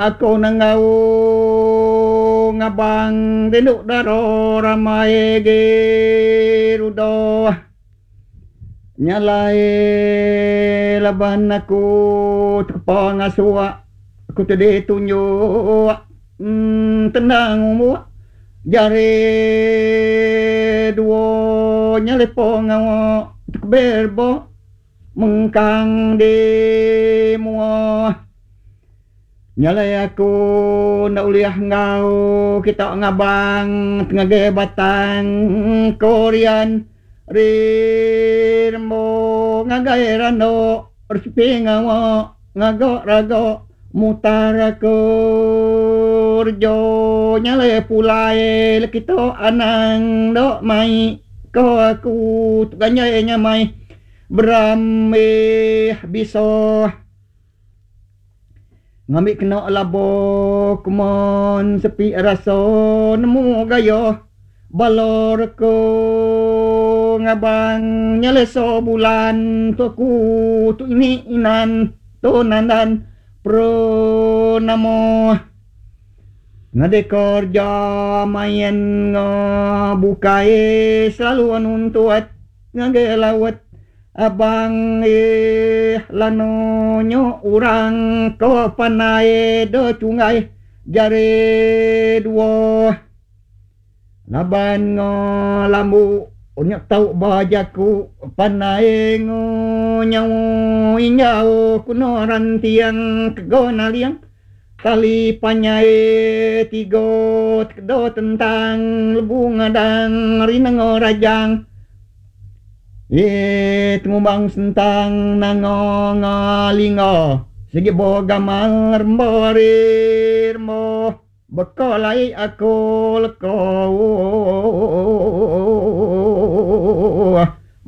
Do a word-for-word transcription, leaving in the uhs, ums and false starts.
Aku nenggau ngabang rindu dara ramai geruda. Nya alai laban aku tekepa ngasuh aku ti ditunjuk tendang umbuk jari dua nya lepa ngawa tekebir ba mengkang di mua. Nya alai aku enda ulih enggau kita ngabang ngagai batang Korean Rimbo ngagai rando resipi ngawa ngaga raga mutar ke rejo nya alai pulai le kita anang enda mai ko aku tu ganjai nyamai beramih bisa. Ngambi kena labo kumon sepi rasa nemu gaya bala reka ngabang nyeleso bulan tu aku tu ini inan tu nandan pernamo. Ngagai kerja main bukai selalu nuntut ngagai laut. Abang ih lanu nyo orang ke pandai de chunggai jari dua. Laban ngo lambu nya tau ba jaku pandai ngo nyawa injau kuno rantiang kego naling tali panjai tiga tekedo tentang lebu ngadang rinengo rajang. Ye tengumbang sentang nanga ngalinga sigi bo gamal rembo ari rembo beka lai aku leka.